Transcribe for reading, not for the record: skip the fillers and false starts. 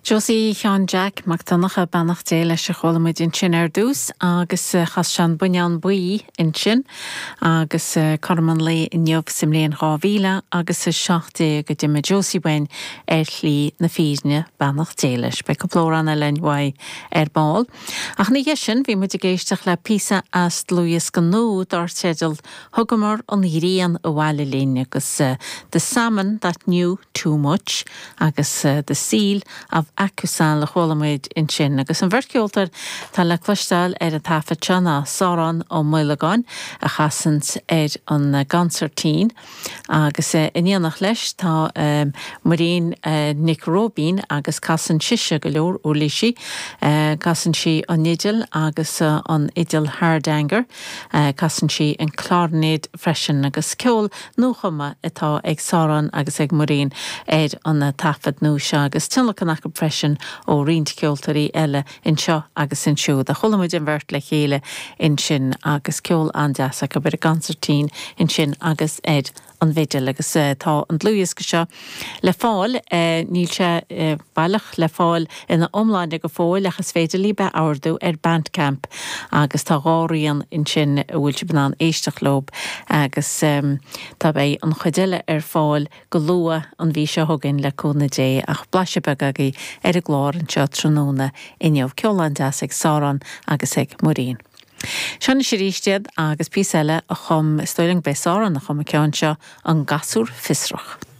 Josie Sheáin Jeaic Mac Donncha, beannacht Dé leis, a chuala muid ansin ar dtús agus chas sé an Buinneán Buí ansin agus cothrom an lae inniu sa mbliain 2000 agus 17 a d'imigh Josie uainn ar shlí na fírinne, beannacht Dé leis. Beidh cúpla amhrán eile againn uaidh ar ball. Ach ina dhiaidh sin bhí muid ag éisteacht le píosa as dlúthdhiosca nua dar teideal Thugamar an ghrian abhaile linn agus The Salmon That Knew Too Much agus The Seal of Acusan a chuala muid ansin. Agus an bheirt cheoltóir atá le cloisteáil ar an taifead seo ná Sárán Ó Maolagáin a chasanns ar an gconsairtín, Agus in éineacht leis tá Muirín Nic Róibín agus casann sise go leor uirlisí. Casann sí an fhidil agus an fhidil Hardanger. Casann sí an cláirnéid freisin agus ceol nuachumtha atá ag Sárán agus ag Muirín ar an taifead nua seo agus tionlacan acu freisin ó roinnt ceoltóirí eile anseo agus ansiúd. A chuala muid an bheirt le chéile ansin agus ceol an-deas acu ar an gconsairtín ansin agus ar an bhfidil agus tá an dlúthdhiosca seo le fáil, níl sé baileach le fáil ina iomláine go fóill ach is féidir libh é a ordú ar Bandcamp agus tá dhá rian ansin a bhfuil sibh in ann éisteacht leo agus tá beidh an chuid eile ar fáil go luath an mhí seo chugainn le cúnamh Dé, ach blaiseadh beag agaibh ar an gclár anseo tráthnóna inniu. Ceol an-deas ag Sárán agus ag Muirín. Seo anois arís iad agus píosa eile a chum, is dóigh liom gurb é Sárán a chum an ceann seo, An Gasúr Fiosrach.